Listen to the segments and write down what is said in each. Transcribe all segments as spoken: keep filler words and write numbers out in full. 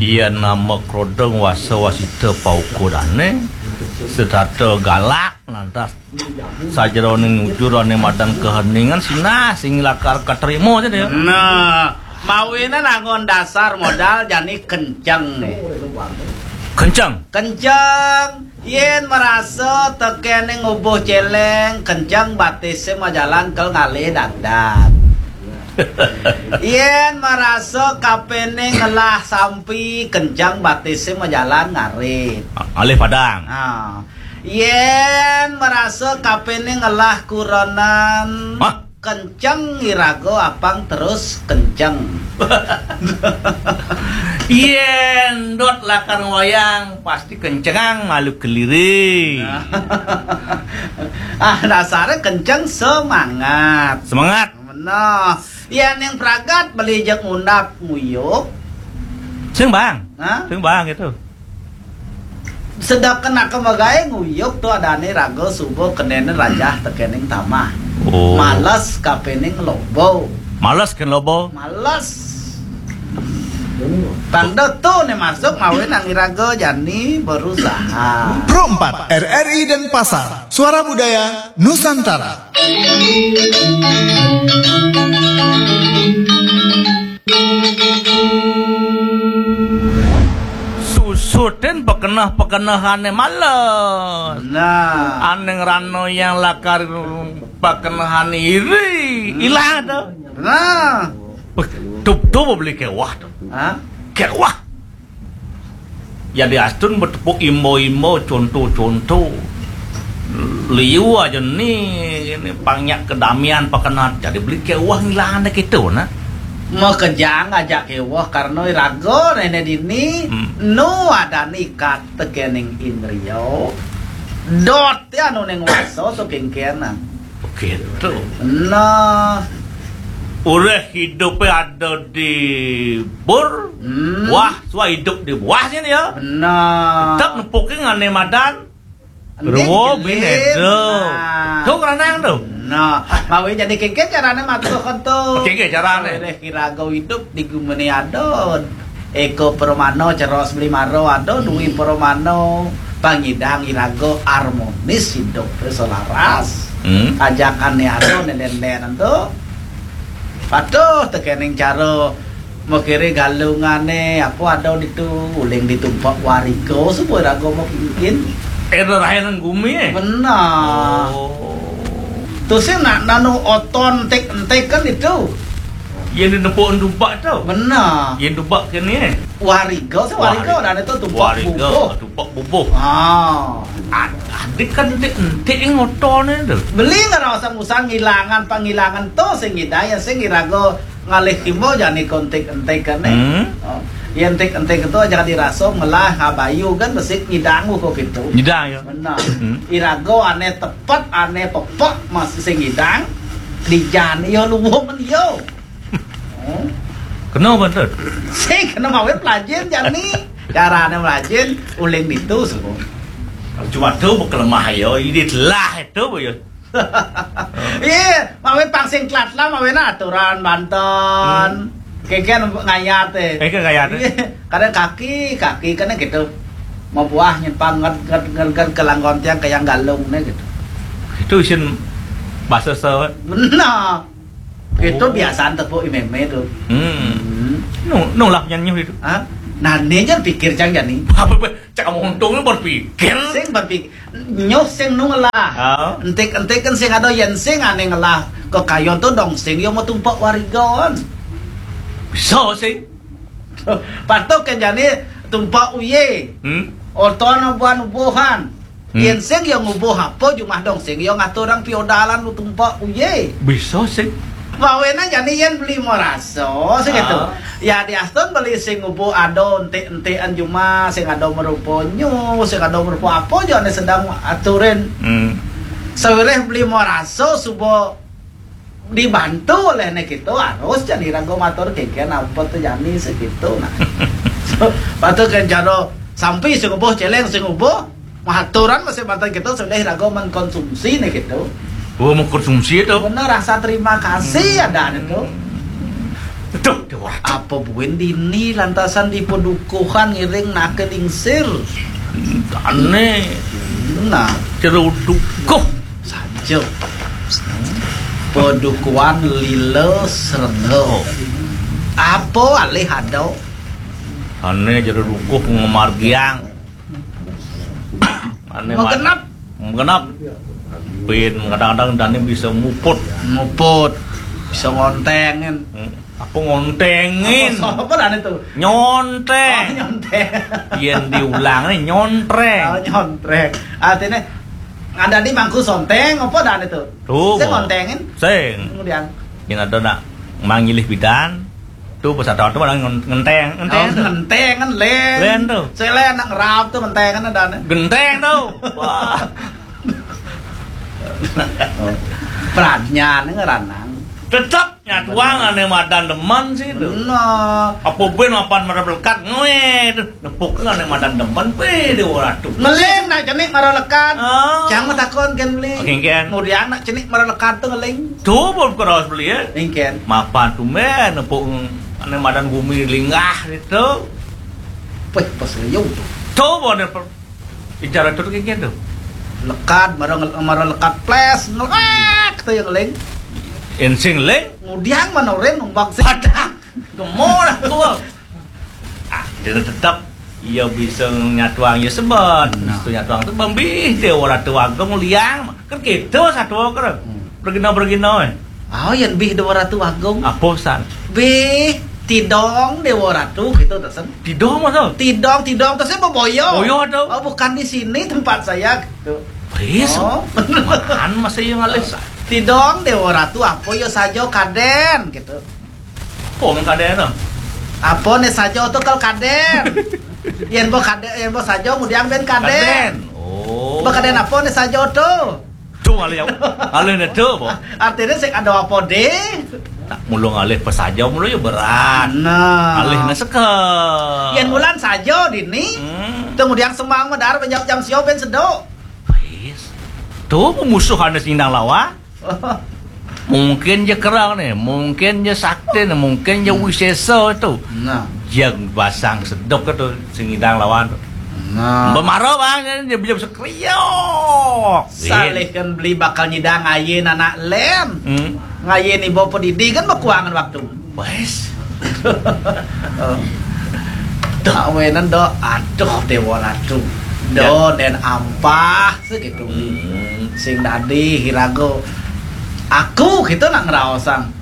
Yén nama krodeng wasa wasita paukudané, setata galak, lantas sajeroning ujur ané madan kaheningan sinah sing lakar katrima, cenah ya. Nah, mawinan anggon dasar modal jani kenceng né. Kenceng. Kenceng. Yén marasa tekéning ubuh céléng, kenceng batisé majalan kel ngalih dadan. Yén marasa kapéné ngelah sampi, kenceng batisé majalan ngarit. Ngalih padang. Ha. Yén marasa kapéné ngelah kurenan, hah? Kenceng iraga apang terus kenceng. Yén dot lakar wayang, pasti kencengang malu keliri. Ah, dasaré kenceng semangat. Semangat. Meneh. Yén ning pragat beli jeg ngundap nguyuk. Sing bang. Hah? Sing bang gitu. Sedek kenaka magaé nguyuk to adané raga suba kenehné rajah tekéning tamah. Oh. Males kapéning loba. Males kén loba. Males. Tanda to né masuk mawinan iraga jani berusaha. Pro empat, R R I Denpasar, Suara Budaya Nusantara. Susutin pekeneh-pekenehané males. Nah. Ané ngrana yang lakar pekenehané iri, hmm, ilang to. Nah. Beh, tup, tup beli kéweh to. Hah? Kéweh. Yadiastun betepuk imba-imba, conto-conto. Liu aja ni, ni pang nyak kadamian pekeneh, jadi beli kéweh ngilang deh kéto, nah. Makejang ajak kéweh, karena iraga néné dini, hmm, nu adané ikat tekéning indria. Dot ya anu ning wasa, so kéngkénan. Begitu. Nah. Uréh hidupé ada di bur, hmm, wah, suah hidup di bawah sini ya. Benar. Tetep nepukin ané madan. Ruwo bin edo. Nah. Tuh, keranang tuh. Nah, mawi jadi kéngkén carané matur kon to. Kéngkén carané. Uréh iraga hidup di guméné ada. Eka Pramana, ceros beli maro ada, dwi Pramana, pangidang iraga harmonis hidup selaras. Hmm. Ajakané ada, néndén-néndén to. Patuh tekéning cara makiré galungané, apa ada ditu, uling ditu tumpak wariga, suba iraga mapingin. Éda rahénan gumi, eh? Benar. Oh. Tusing nak nanu oton entik-entik kan ditu. Yén di nepuk dubak to. Benar. Yén dubak kéné. Wariga, sing wariga, wariga. Adané to tumpak bubuh. Wariga, tumpak bubuh. Ah. Ad-, adik kan entik-entik ngotoné to. Beli ngerasa usah ngilangan pangilangan to sing ngidang, sing iraga ngalih timba jani kontik-entikané. Hmm. Oh. Yén entik-entik to aja dirasa ngelah ngabayu kan besik ngidang kok gitu. Ngidang ya. Benar. Hmm. Iraga ané tepet, ané pepek masih sing ngidang. Di jani ya luwung men ya. Hmm. Kena bantet. Sing kena mawi pelajin jani. Carané melajin uling ditu suku. Cuma to kelemah ya, ini telah to ya. Iya, mawi pang sing telat lah, mawi na aturan banten. Hmm. Kéngkén ngayat, eh. Kéngkén ngayat, eh. Iya, kadang kaki, kaki kan gitu. Mau buah nyempang nged, nged, nged, nged ke langgon tiang ke yang galung né gitu. Itu isin bahasa se- Benar. Itu, oh, biasaan tepuk imeme to. Hmm. Hmm. Nu, nu lah nyanyuh itu. Hah? Nah, né jar pikir cang jani. Apa, apa? Cak kamu untungnya berpikir. Sing berpikir. Nyuh sing nu ngelah. Ah. Entik-entik kan sing ada yén sing ané ngelah. Kekayon to dong sing yo mau tumpak warigon. Bisa sing. Patuh kan jani tumpak uye. Hmm. Oton buan ubuhan. Hmm. Yén sing ya ngubuh apa jumah dong sing ya ngaturang piodalan nu tumpak uye. Bisa sing. Mawinan jani yén beli marasa sing gitu. Ah. Ya diastun beli sing ngubuh ada entik-entikan jumah, sing ada merupa nyu, sing ada merupa apa aja né sedang aturin. Hmm. Sawiréh beli marasa suba dibantu oleh né gitu, harus jani raga matur kéngkén apa to jani segitu nah. Patut kan cara sampi sing ubuh céléng sing ubuh, maturan masih banten gitu sudah raga mengkonsumsi né gitu. Oh, mengkonsumsi itu. Bener rasa terima kasih ada itu. Duh, Déwa Ratu. Apa buin dini lantasan di padukuhan ngiring nake lingsir. Ane. Nah, Jero dukuh. Saja. Padukuhan Lila Srengga. Apa alih ada? Ane jero dukuh ngamargiang. Ane Mau ma-, genep. Mau genep. Pin kadang-kadang dane bisa muput. Muput. Bisa ngontengin. Hmm. Apa ngontengin? Apa, apa dane tuh? Nyonteng. Oh, nyonteng. Yen diulang nih, nyontreng. Oh, nyontreng. Artinya, ada di mangku sonteng, apa dane tuh? Tuh, Sing ngontengin? Sing. Kemudian? Yen ada nak mangilih bidan, tuh pas ada tuh malah ngon-, ngenteng, ngenteng. Oh, ngenteng kan, Len. Len tuh. Saya Len nak ngerap tuh, ngenteng kan ada nih. Genteng tuh. Wah. Pradnyane ngeranang. Tetep nyatuang ane madan demen sih itu. Bener. Apa ben mapan mara lekat ngoe itu. Nepuk ane madan demen pe Déwa Ratu. Ngeling nak cenik mara lekat. Oh. Jang matakon ken beli. Oke, ken. Kemudian nak cenik mara lekat tuh ngeling. Tuh, belum keras beli ya. Ingken. Mapan tumben nepuk ane madan gumi linggah itu. Weh, pas liu tuh. Tuh, bener per-, Icara tuh kayak gitu. Lekat, mara ngel-, mara lekat ples, ngelak tuh yang ngeling. Ensing ling. Ngudiang manorin numbang sih. Padang. Gemol aku. Ah, dia tetep iya bisa nyatuang ya sebet. Nah. Bisa nyatuang tuh bambih Déwa Ratu Agung liang. Kan gitu satu keren. Hmm. Bergina-bergina, eh. Oh, yang bih Déwa Ratu Agung. Apa san? Bih, tidong Déwa Ratu gitu, tesen. Tidong, Mas, oh? Tidong, tidong, tesen beboyo. Boyo tuh. Oh, bukan di sini tempat saya, gitu. Wis, oh. Mana masa yang ngalih sa-, tidong Déwa Ratu, apa ya saja kaden, gitu. Apa men kaden, oh? Apa nih saja tuh kalau kaden? Yen bo kaden, yen bo saja, kemudian ben kaden. Kaden. Oh. Bo kaden apa nih saja tuh? Tuh, ngalih, ngalih ne tuh, po. Artinya sing ada apa deh? Tak mulu ngalih pesaja mulu ya berat. Nah. Ngalih ne seke. Yen bulan saja dini. Hmm. Kemudian semang medar banyak jam sio ben sedok. Wis. Tuh, pemusuhan sing nang lawan. Mungkin je kerang nih, mungkin je sakti nih, mungkin je wisesa itu. Nah. Yang basang sedok itu sing ngidang lawan. Nah. Bemaro bang, dia bisa kriok. Salihkan beli bakal nyidang ngayin anak lem. Hmm. Ngayin ibu pedidi kan berkuangan waktu. Wes. Awenan do, aduh Dewa Ratu. Do ya. Den ampah segitu. Hmm. Sing dadi hirago. Aku gitu nak ngeraosang.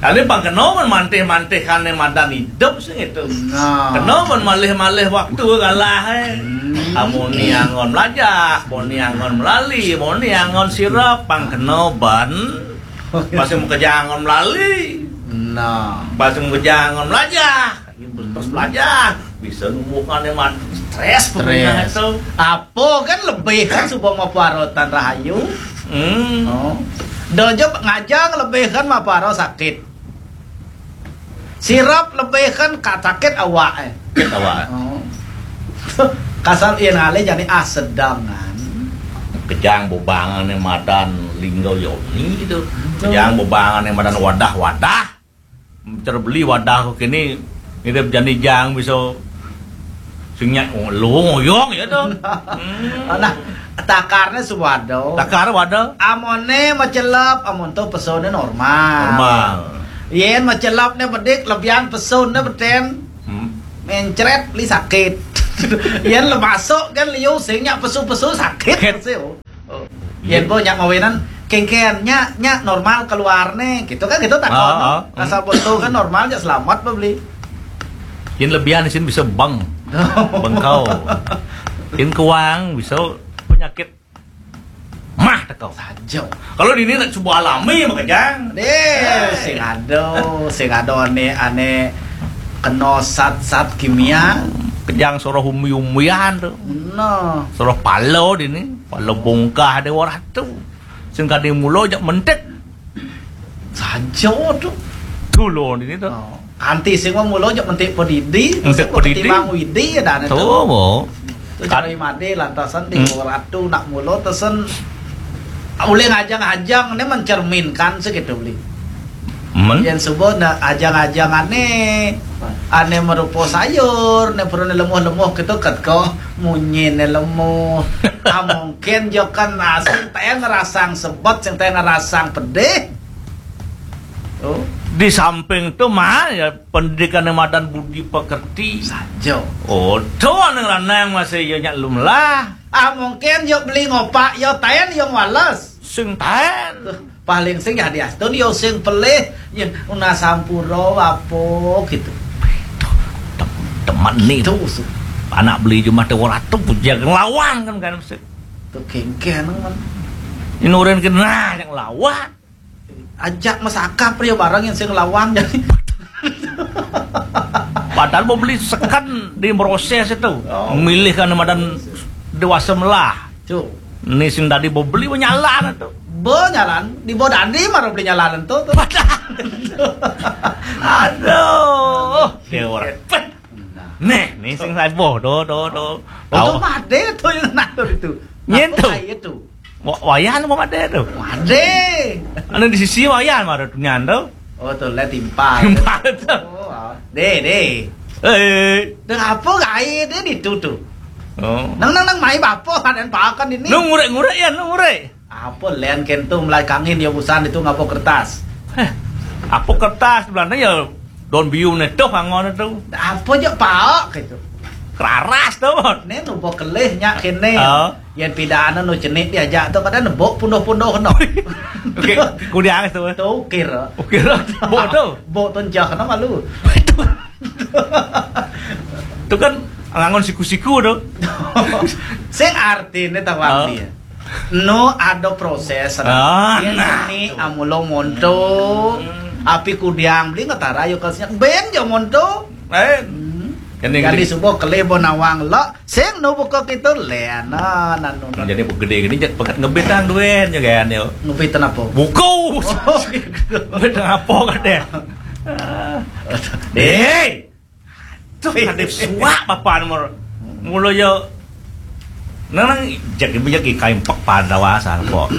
Kali pang kena men mantih-mantih kane madan hidup sing itu. Nah. Kena men malih-malih waktu kalah, eh. Hmm. Amoni angon melajah, moni angon melali, moni angon sirap, pang kena ban. Masih mau kerja angon melali. Nah. Masih mau kerja angon melajah. Terus melajah. Bisa numbuhkan emang stres. Stres. Pokoknya itu. Apa kan lebih kan supaya mau parotan rahayu. Hmm. Oh. Dojo ngajang lebih kan mau paro sakit. Sirap lebih kan ka-, sakit awak, eh. Sakit awak. Oh. Kasar iya ngalih jadi ah sedangan. Kejang bebangan yang madan linggo yoni itu. Betul. Kejang bebangan yang madan wadah-wadah. Terbeli wadah kok kini ngidip jani jang bisa sing nyak lu ngoyong ya tuh. Hmm. Nah, takarnya suwado. Takar wadah. Amone macelep, amon tuh pesone normal. Normal. Yen macelep ne bedik, lebihan pesone beten. Hmm. Mencret li sakit. Yen le masuk kan liu sing nyak pesu-pesu sakit. Sakit. Sih, oh. Oh. Yen bo nyak mawinan kengken nyak, nyak normal keluar ne, gitu kan, gitu takon. Ah, ah. Asal betul kan normal, nyak selamat beli. Yen lebihan isin bisa beng. Bengkau. Yen kuang bisa penyakit mah tekau. Saja. Kalau di ini nak coba alami makanya. Deh, sing ada, sing ada ane, ane kena zat-zat kimia. Kejang soroh umi-umian tuh. No. Soroh palo di ini. Pala bongkah Dewa Ratu. Sing kadi mula jak mentik. Saja tu. Dulu ini tu. Oh. Kanti sing wong mula jak mentik pedidi, mentik pedidi. Ketimbang widi ya dane tu. Tu, bo. Tu kan cari made lantasan di Dewa Ratu nak mula tesen. Boleh ngajang-ajang ni mencerminkan segitu beli. Men? Yén suba na ajang-ajang ané, ané marupa sayur, né perlu né lemuh-lemuh kéto, ket ko munyiné lemuh. Ah, mungkin ja kan, ah, sing taén ngrasang sebet, sing taén ngrasang pedih. Oh. Di samping to, mah, ya, pendidikan madan budi pekerti. Saja. Oh, to ané ngranang masih ya nyak lum lah. Ah, mungkin ya beli ngopak, ya taén ya ngwales. Sing taén. Tuh, paling sing ya diastun ya sing pelih, ya una sampura apa gitu. Tem-, temen nih. Tuh, su- Anak beli jumah téh ora tuh, puja nglawan kan, kan, mesti. Tuh kéngkén, kan. Ini orang kena yang lawan. Ajak masakap ya bareng yang sing lawan jadi. Padahal mau beli seken di proses itu. Oh. Milih kan madan dewasa melah. Cuk. Ini sing tadi mau beli, mau nyalan itu. Bo nyalan, di bo dadi mara beli nyalan itu tuh. Padahal. Aduh, dia orang. Nah. Nih, nih sing saya boh, do, do, do. Oh, itu madé tuh yang ngatur itu. Nyén tuh? Apa kayak itu? Wa-, wayan apa madé tuh? Madé. Anu di sisi wayan mara tuh nyan tuh. Oh, tuh, lihat timpal. Timpal tuh. Oh, ah. Dé, dé. Eh. Dah apa gaya dé di tu tuh? Oh. Nang, nang, nang, mai bapa kan, dan pakan ini. Nu ngurek-ngurek ya, nu ngurek. Apa lén kénto melai kangin ya busan itu ngapa kertas? Eh, apa kertas Belanda ya don biu né tuh angon itu. Apa ja paok gitu. Keraras tuh. Né nu bo kelih nyak kéné. Oh. Yén pidana nu cenik diajak tuh kadang nebok pundoh-pundoh no. Oke, kudiang tuh. Tuh ukir. Ukir. Bo tuh. Bo tuh jah no malu. Itu kan ngangon siku-siku tuh. Sing artiné tawang dia. No ada proses. Ah, yén nah, seni tuh. Amula monto, hmm. Api kudiang beli ngetara yo kasnya. Ben yo monto. Eh. Hmm. Jadi subuh kelih bo nawang lo. Sing no buka kita lena nanu. Jadi gede gini, pegat ngebit tang duen yo kan yo. Ngebit apa? Buku. Oh, gitu. Ngebit apa kan deh? Deh. Tuh, kadé suak bapa nomor. Mula ya nang, nang, jadi banyak kain pek pada wasan kok.